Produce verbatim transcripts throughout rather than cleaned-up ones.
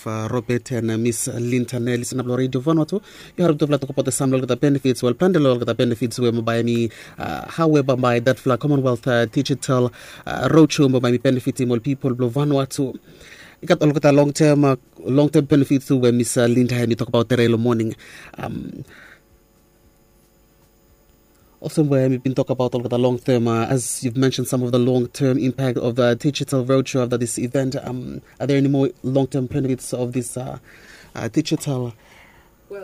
Robert and Miss Linda Nelly, sena blong Radio Vanuatu. Yu harem tufala tokbaot sam long olgeta benefits, wel, plante long olgeta benefits we bambae hemi, hao we bambae datfala Commonwealth Digital Roadshow bambae hemi benefitim ol pipol blong Vanuatu. I gat olgeta long term, long term benefits tu we Miss Linda hemi tokbaot tere long moning. Olsem we mi bin tokbaot olgeta long term, as you've mentioned some of the long term impact of the digital roadshow after this event. Are there any more long term benefits of this digital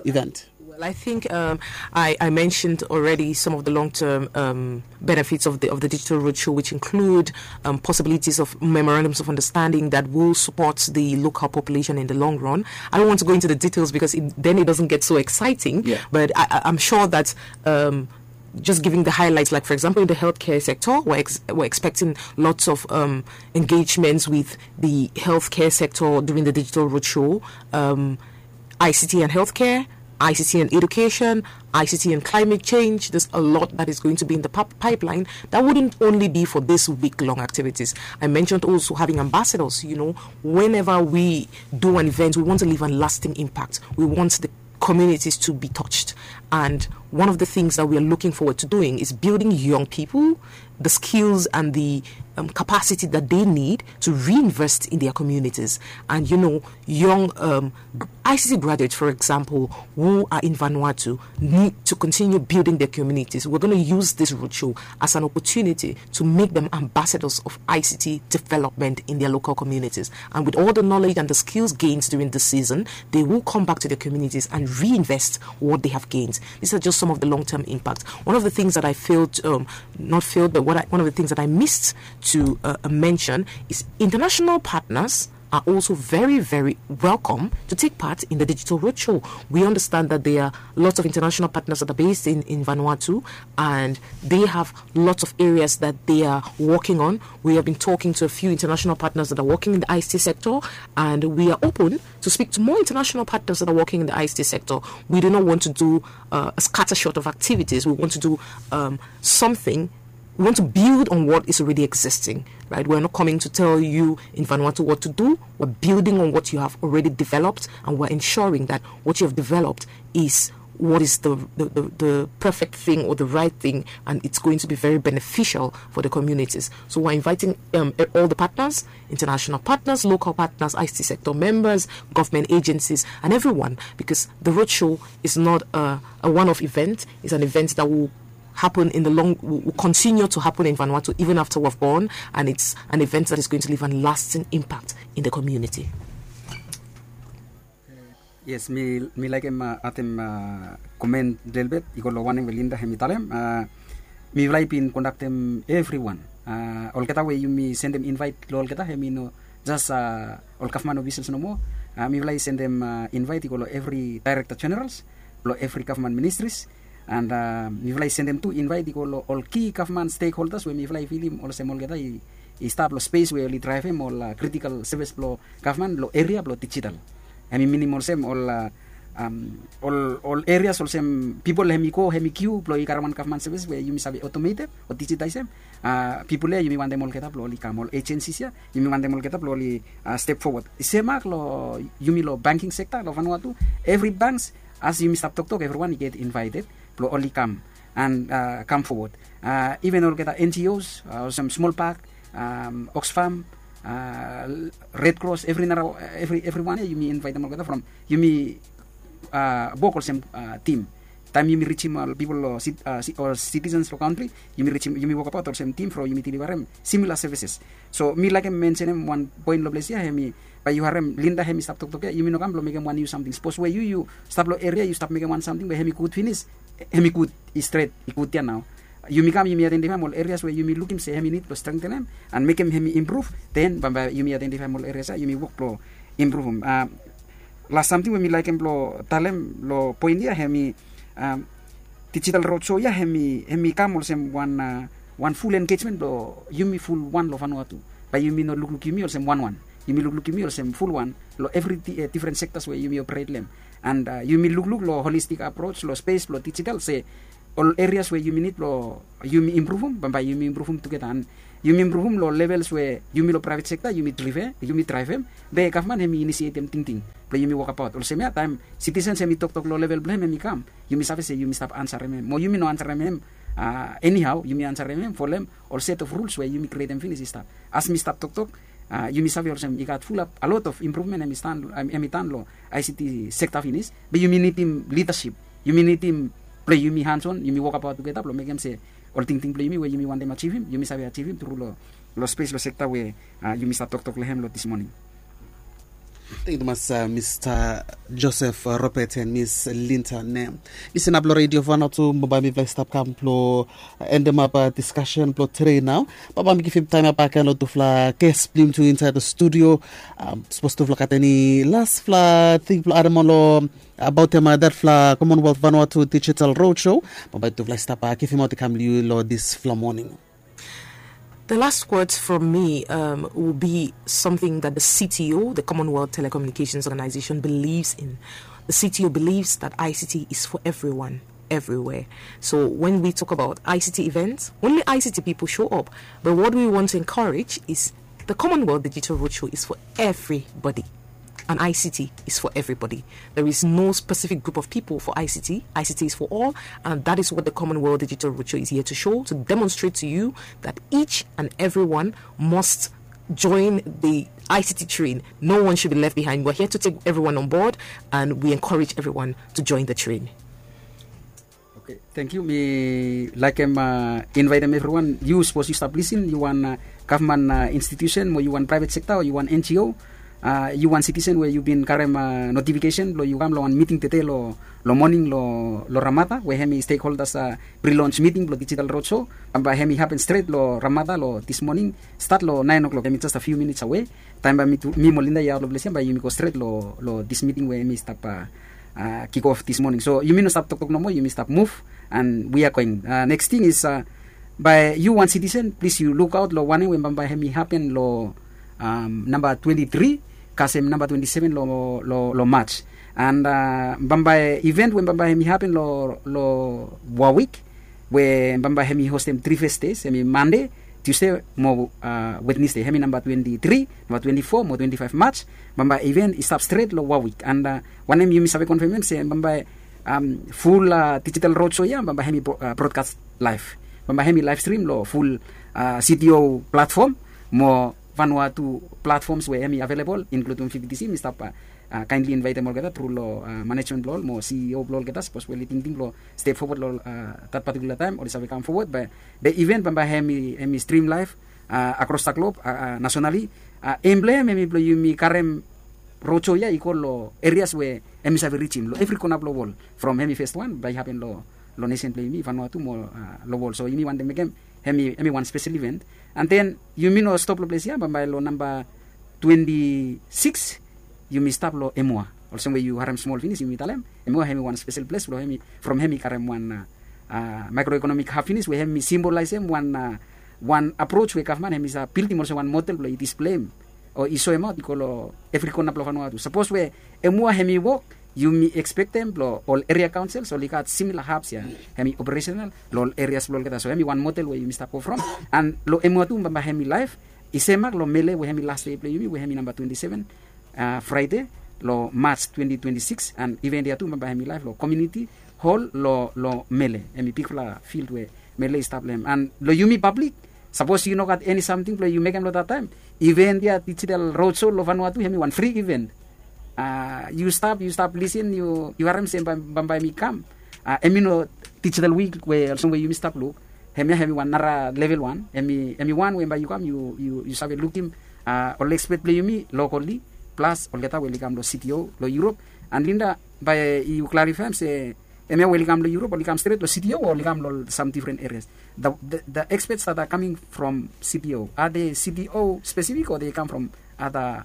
event? Well, I think I mentioned already some of the long-term benefits of the digital roadshow, which include possibilities of memorandums of understanding that will support the local population in the long run. I don't want to go into the details because then it doesn't get so exciting. But I'm sure that just giving the highlights, like, for example, in the healthcare sector, we're, ex- we're expecting lots of um, engagements with the healthcare sector during the digital roadshow, um, I C T and healthcare, I C T and education, I C T and climate change. There's a lot that is going to be in the pip- pipeline that wouldn't only be for this week long activities. I mentioned also having ambassadors. You know, whenever we do an event, we want to leave a lasting impact. We want the communities to be touched. And one of the things that we are looking forward to doing is building young people, the skills and the um, capacity that they need to reinvest in their communities. And you know, young um, I C T graduates, for example, who are in Vanuatu need to continue building their communities. We're going to use this roadshow as an opportunity to make them ambassadors of I C T development in their local communities. And with all the knowledge and the skills gained during this season, they will come back to their communities and reinvest what they have gained. These are just some of the long-term impacts. One of the things that I failed, um, not failed, but what I, one of the things that I missed to uh, mention is international partners are also very, very welcome to take part in the digital roadshow. We understand that there are lots of international partners that are based in, in Vanuatu, and they have lots of areas that they are working on. We have been talking to a few international partners that are working in the I C T sector, and we are open to speak to more international partners that are working in the I C T sector. We do not want to do uh, a scattershot of activities. We want to do um, something we want to build on what is already existing, right? We're not coming to tell you in Vanuatu what to do. We're building on what you have already developed, and we're ensuring that what you have developed is what is the, the, the, the perfect thing or the right thing, and it's going to be very beneficial for the communities. So we're inviting um, all the partners, international partners, local partners, I C T sector members, government agencies, and everyone, because the roadshow is not a, a one-off event. It's an event that will happen in the long, will continue to happen in Vanuatu even after we've gone, and it's an event that is going to leave a lasting impact in the community. Yes, mi mi laikim uh, atem uh, comment lelebet i go lo wanem we Linda hemi talem. Uh, mi vlai bin kondaktem everyone. Uh, olgeta we yumi sendem invite lo olgeta hemi no just uh, ol gavman officials nomo. Uh, mi vlai sendem uh, invite i go lo every director generals, lo every government ministries. And uh, mifala i sendem tu invite i go lo ol key government stakeholders we mifala i filim olsem olgeta i, i stap lo space we oli drivem ol uh, critical service blo government lo area blo digital. Hemi minim olsem ol uh, um, ol, ol areas olsem people hemi go hemi kiu blo i karem wan government service we yumi save automated o digitizem. Uh, people ia yumi wantem olgeta blo oli kam, ol agencies ia yumi wantem olgeta blo oli uh, step forward. Semak lo yumi lo banking sector lo Vanuatu, every banks as yumi stap toktok, everyone i get invited blo oli kam and uh, kam forward. Uh, even olgeta N G Os, uh, olsem Small Park, um, Oxfam, uh, Red Cross, every nara, every, everyone ia yumi invitem olgeta from yumi uh, wok olsem uh, team. Taem yumi rijim ol pipol o citizens lo kantri, yumi rijim, yumi wokabaot olsem tim from yumi delivarem similar services. So mi laekem mensenem wan poen lo ples ia, hemi bae yu harem Linda hemi stap toktok ia, yumi no kam blo mekem wan niu samting. Sapos we yu yu stap lo eria yu stap mekem wan samting we hemi gud finis, hemi gud, i stret, i gud ia nao. Yumi kam yumi aidentifaem ol erias we yumi lukim se hemi nid blo strengtenem and mekem hemi impruv, den bambae yumi aidentifaem ol erias ia yumi wok blo impruvum. Las samting we mi laekem blo talem lo poen ia hemi, digital roadshow ia hemi, hemi kam olsem wan, wan ful engejmen blo yumi ful wan lo Vanuatu. Bae yumi no lukluk yumi olsem wanwan. Yumi lukluk yumi olsem ful wan lo evri difren sectors we yumi operate lo hem. And yumi lukluk lo holistic approach lo space blo digital se ol erias we yumi nid blo yumi impruvum, bambae yumi impruvum tugeta. And yumi impruvum long levels we yumi long praevet sekta yumi drivem, be gavman hemi inisietem tingting blong yumi wokabaot. Olsem ya taem sitisens hemi toktok long level blong hem hemi kam, yumi save se yumi stap ansarem hem mo yumi no ansarem hem enihao, yumi ansarem hem folem ol set of rules we yumi krietem finis i stap. As mi stap toktok, yumi save olsem i gat fulap a lot of impruvmen hemi tan long ict sekta finis, be yumi nidim lidasip, yumi nidim blong yumi hanson yumi wokabaot tugeta blong mekem se ol tingting blong yumi we yumi wantem ajivim yumi save ajivim tru long spes long sekta we yumi stap toktok long hem long dis moning. Tengyu tumas, mista joseph robert and miss linta ne. Mi sinap long redio fana tu mo bae mipela i stap kam blong endemap diskasen blong tre nao. Baba mi givim taim ya baken long tufala ges blong yumi tu insait long studio. Sapos tufala gat eni lasfala ting blong adem ol long abaotem datfala commonwealth vanua tu digital road show, baba tufala i stap givim aut i kam long yu long disfala moning. The last words from me um, will be something that the C T O, the Commonwealth Telecommunications Organization, believes in. The C T O believes that I C T is for everyone, everywhere. So when we talk about I C T events, only I C T people show up. But what we want to encourage is the Commonwealth Digital Roadshow is for everybody. And I C T is for everybody. There is no specific group of people for I C T. I C T is for all, and that is what the Commonwealth Digital Roadshow is here to show, to demonstrate to you that each and everyone must join the I C T train. No one should be left behind. We're here to take everyone on board, and we encourage everyone to join the train. Oke, tengyu. Mi laekem invaetem evriwan, yu sapos yu stap lisin, yu wan gavman institusen mo yu wan praevet sekta o yu wan N G O, yu wan sitisen we yu bin karem notifikesen blong yu kam long wan miting tede long moning long ramada we hem i stekholdas, prilons miting blong dijital rodsho, bambae hem i hapen stret long ramada long dis moning. Stat long naen oklok, hem i jes a fiu minits awe. Taem bae mi mo Linda i aot long ples ya bae yumi go stret long dis miting we hem i stap kikof dis moning. So yumi no stap toktok nomo, yumi stap muv. And we are going. Neks ting is, bae yu wan sitisen plis yu lukaot long wanem we bambae hem i hapen long namba twenti tri kasem namba twenti seven long mats. And bambae iven we bambae hem i hapen long wawik we bambae hem i hostem tri fes des, hem i mande, tiusde mo wetnesde, hem i namba twenti tri, namba twenti fo mo twenti faef mats. Bambae iven i stap stret long wawik. And wanem yumi save konfem hem se bambae ful dijital rodsho ya bambae hem i brodkas laef. Bambae hem i laef strim long ful cto platfom mo vanua tu platfoms we hem i avelebol, inkludim fifti si mi stap kaenli invaetem olgeta tru long manejmen blong ol mo CEO blong olgeta sapos we oli tingting blong step fowod long dat patikula taem oli save kam fowod. Be iven bambae hem i strim laef akros da glob, nasonali. Em blong hem hem i blong yumi karem rodsho ya i go long erias we hem i save rijim long evri kona blong wol, from hem i fes wan bae i hapen long nesen blong yumi vanua tu mo long wol. So yumi wantem mekem hem i wan spesel iven. And then yumi no stop long ples ya, bambae long namba twenti sikis yumi stap long emua. Olsem we yu harem smol finis yumi talem emua hem i wan spesel ples blong hem i from hem i karem wan maekroekonomik hap finis we hem i simbolaesem wan wan aprots we gavman hem i save bildim olsem wan model blong i displeim o i soemaot i go long evri kona blong vanua tu. Sapos we emua hem i wok, yumi ekspektem blong ol eria kaonsels oli gat simila haps ya hem i operesenal long ol erias blong olgeta. So hem i wan model we yumi stap go from. And long emua tu bambae hem i laef i semak long mele we hem i las dei blong yumi we hem i namba twenti seven fraede long mats twenti twenti sikis. And iven ya tu bambae hem i laef long komiuniti hol long mele, hem i bigfala fild we mele i stap long hem. And long yumi pablik, sapos yu no gat eni samting blong yu mekem long dat taem, iven ya dijital rodsho long vanua tu hem i wan fri iven. Yu stap yu stap lisin yu harem se bambae hem i kam. Hem i no dijital wik we olsem we yumi stap luk. Hemia hem i wan nara level wan, hem i wan we bae yu kam yu save lukim ol ekspet blong yumi lokali plas olgeta we oli kam long cto long Europe. And Linda, bae yu klarifaem se hemia we oli kam long Europe oli kam stret long cto o oli kam long sam difren erias? The experts that are coming from cto, are they cto specific or they come from other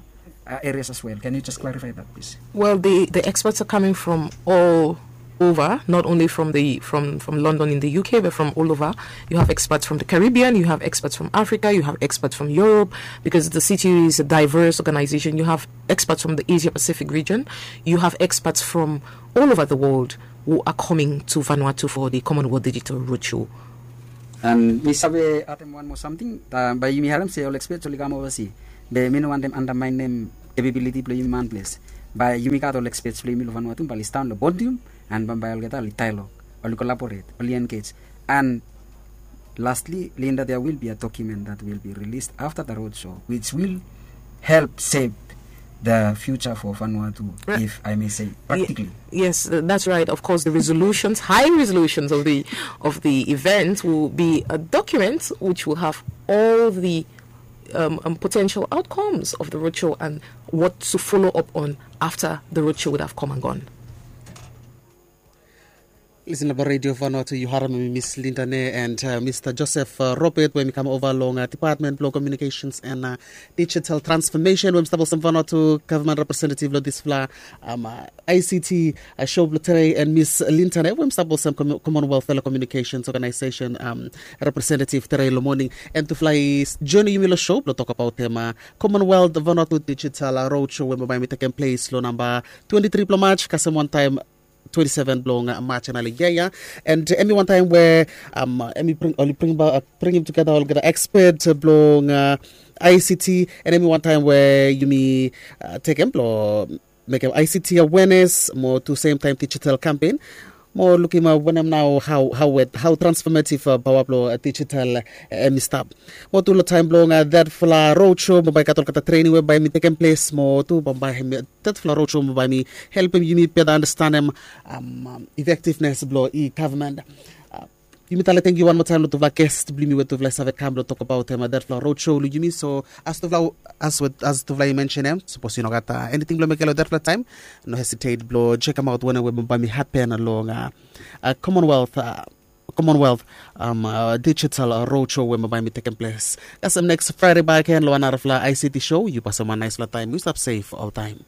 areas as well? Can you just clarify that, please? Well, the, the experts are coming from all over, not only from the from from London in the U K, but from all over. You have experts from the Caribbean, you have experts from Africa, you have experts from Europe, because the C T U is a diverse organization. You have experts from the Asia Pacific region, you have experts from all over the world who are coming to Vanuatu for the Commonwealth Digital Roadshow. And mi save atem wan moa samting, bae yumi harem se ol experts oli kam ovasi. Be mi no wantem andamaenem capability blong yumi manples. Bae yumi gat ol experts blong yumi long Vanuatu bae oli sidaon long podium, and bambae olgeta oli dialogue, oli collaborate, oli engage. And lastly, Linda, there will be a document that will be released after the roadshow, which will help shape the future for Vanuatu, if I may say, practically. Yes, that's right. Of course, the resolutions, high resolutions of the of the event will be a document which will have all the um, um, potential outcomes of the roadshow and what to follow up on after the roadshow would have come and gone. Listen about Radio Vanuatu, yu harem mi Miss Linda ne and uh, Mister Joseph uh, Robert, we mi kam ova long uh, Department blong Communications and uh, Digital Transformation, we mi stap olsem Vanuatu Government Representative long disfala um, uh, I C T uh, show blong tere, and Miss Linda ne, we mi stap olsem Com- Commonwealth Telecommunications Organization um, representative tere long morning. And tufala i join yumi long show blong tokbaot tema Commonwealth Vanuatu Digital uh, Roadshow we bambae mi tekem ples long namba twenty-three blong March, kasem wantaem twenty-seven blong uh, March, and ali yaya. And uh, hemi wantaem we um, hemi bring, oli bring, uh, bringim together olgeta expert uh, blong uh, I C T, and hemi wantaem we yumi uh, tekem blong mekem I C T awareness mo tu same time digital campaign. Mo lukim uh, wanem nao how how we how transformative uh, power blong uh, digital uh, hemi stap. Mo tu long taem blong uh, that fala roadshow mo bae gat olgeta training we bae mi tekem ples mo tu bambae hemi that fala roadshow mo bae mi helpem yumi better understandem um, um, effectiveness blong e-government. Uh, yumi tale tangkiu wan moa taem long tufala guest blong yumi we tufala i save kam blong tokbaot tema that fala roadshow long yumi. So as tufala as we as tufala i mention em, sapos yu no gat uh, anything blong mekem long that fala taem, no hesitate blong chekem aot wanem we bambae mi happen long uh, uh, Commonwealth uh, Commonwealth um, uh, Digital uh, Roadshow we bambae mi tekem ples. Kasem next Friday bakegen long wan narafala I C T show. Yu pasem wan naesfala taem. Yu stap safe oltaem.